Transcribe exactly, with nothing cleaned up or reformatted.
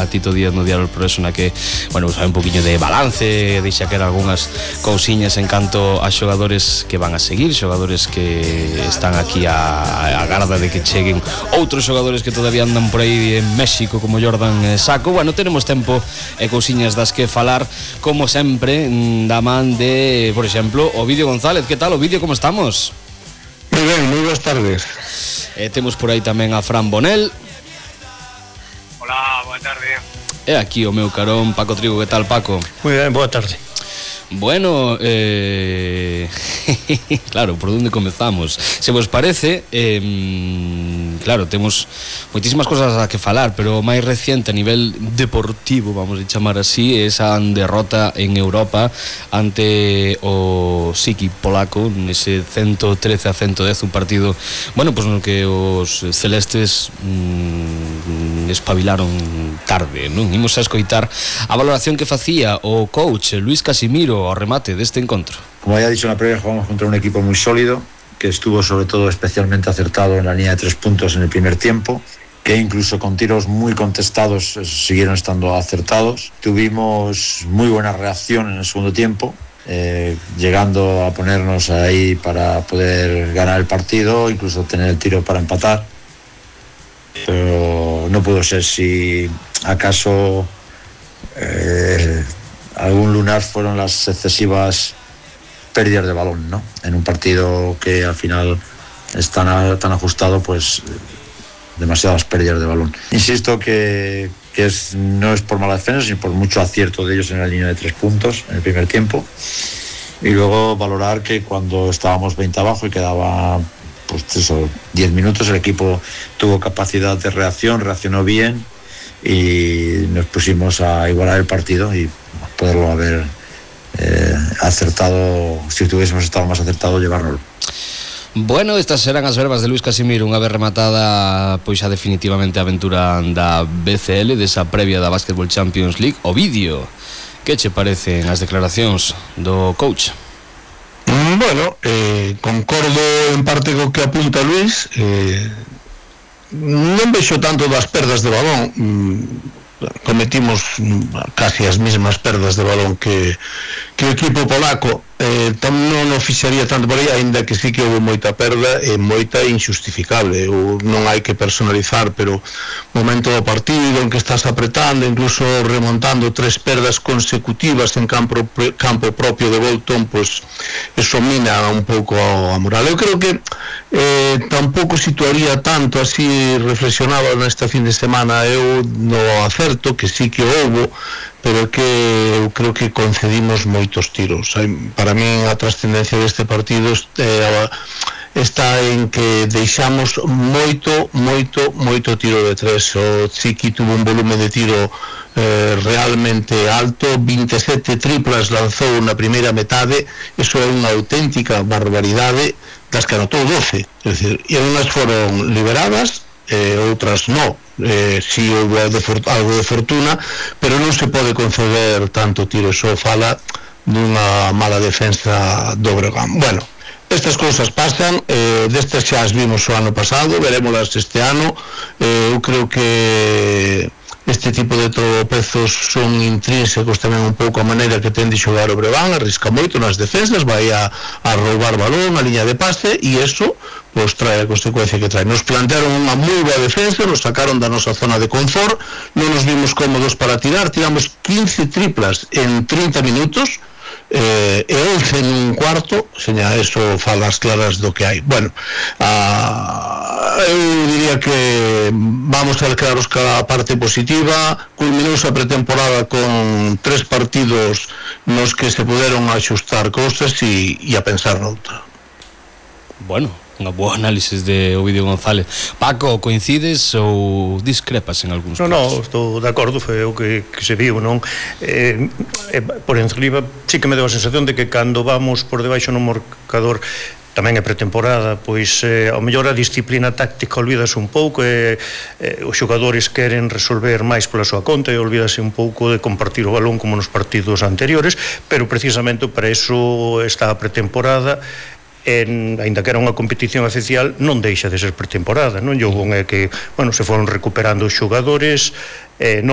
Tito Díaz no Diario El Progreso, na que, bueno, sabe un poquinho de balance, deixa que eran algunhas cousiñas en canto a xogadores que van a seguir, xogadores que están aquí a, a garda de que cheguen outros xogadores que todavía andan por aí en México, como Jordan Saco. Bueno, tenemos tempo e cousiñas das que falar, como sempre, da man de, por exemplo, Ovidio González. Que tal, Ovidio, como estamos? Moi ben, moi boas tardes. E temos por aí tamén a Fran Bonel. Hola, boa tarde. E aquí o meu carón, Paco Trigo. Que tal, Paco? Moi ben, boa tarde. Bueno, eh... claro, por onde comezamos? Se vos parece, eh, claro, temos moitísimas cosas a que falar, pero o máis reciente a nivel deportivo, vamos a chamar así, esa derrota en Europa ante o Siki polaco, nese ciento trece a ciento dez, un partido, bueno, pois pues no que os celestes mmm, espabilaron tarde, non? Imos a escoitar a valoración que facía o coach Luis Casimiro ao remate deste encontro. Como ya he dicho en la previa, jugamos contra un equipo muy sólido, que estuvo sobre todo especialmente acertado en la línea de tres puntos en el primer tiempo, que incluso con tiros muy contestados siguieron estando acertados. Tuvimos muy buena reacción en el segundo tiempo, eh, llegando a ponernos ahí para poder ganar el partido, incluso tener el tiro para empatar. Pero no pudo ser. Si acaso eh, algún lunar fueron las excesivas pérdidas de balón, ¿no? En un partido que al final es tan, tan ajustado, pues demasiadas pérdidas de balón. Insisto que, que es, no es por mala defensa, sino por mucho acierto de ellos en la línea de tres puntos en el primer tiempo. Y luego valorar que cuando estábamos veinte abajo y quedaba pues eso, diez minutos, el equipo tuvo capacidad de reacción, reaccionó bien y nos pusimos a igualar el partido y poderlo haber eh, acertado, si tuviésemos estado más acertado, llevárnoslo. Bueno, estas serán as verbas de Luis Casimiro unha vez rematada pois a definitivamente a aventura da B C L, desa previa da Basketball Champions League. Ovidio, que che parecen as declaracións do coach? Bueno, eh, concordo en parte co que apunta Luis. eh, non vexo tanto das perdas de balón. Cometimos casi as mesmas perdas de balón que, que o equipo polaco. eh, tam non o fixaría tanto por aí, ainda que sí que houve moita perda e moita injustificable. O, non hai que personalizar, pero momento do partido en que estás apretando, incluso remontando tres perdas consecutivas en campo, campo propio de Bolton, pues eso mina un pouco a moral. Eu creo que eh, tampouco situaría tanto así, reflexionaba nesta fin de semana eu no acerto, que sí que houve, pero que eu creo que concedimos moitos tiros. Para mí a trascendencia deste partido eh, está en que deixamos moito, moito, moito tiro de tres. O Chiqui tuvo un volumen de tiro eh, realmente alto, veintisiete triplas lanzou na primeira metade, eso é unha auténtica barbaridade, das que anotou doce, é dicir, e unhas foron liberadas, eh, outras non. Eh, si houve algo de fortuna, pero non se pode conceder tanto tiro. Eso fala dunha mala defensa do Breogán. Bueno, estas cousas pasan, eh, destas xa as vimos o ano pasado, verémolas este ano. eh, eu creo que este tipo de tropezos son intrínsecos tamén un pouco a maneira que ten de xogar o Breogán, arrisca moito nas defensas, vai a, a roubar balón, a liña de pase, e iso pois trae a consecuencia que trae. Nos plantearon unha moi boa defensa, nos sacaron da nosa zona de confort, non nos vimos cómodos para tirar, tiramos quince triplas en trinta minutos, eh, e once en un cuarto, seña, eso fala as claras do que hai. Bueno, ah, eu diría que vamos a declararos cada parte positiva. Culminouse a pretemporada con tres partidos nos que se puderon axustar cousas e, e a pensar noutra. Bueno, unha boa análisis de Ovidio González. Paco, coincides ou discrepas en algúns No, puntos? no, estou de acordo, foi o que, que se viu, non? Eh, eh, por enriba, sí que me deu a sensación de que cando vamos por debaixo no marcador, tamén é pretemporada, pois eh, ao mellor a disciplina táctica olvídase un pouco, e eh, os xogadores queren resolver máis pola súa conta e olvídase un pouco de compartir o balón como nos partidos anteriores, pero precisamente para eso está a pretemporada. En, ainda que era unha competición oficial, non deixa de ser pretemporada, non? Yo é que, bueno, se foron recuperando os xogadores, eh, non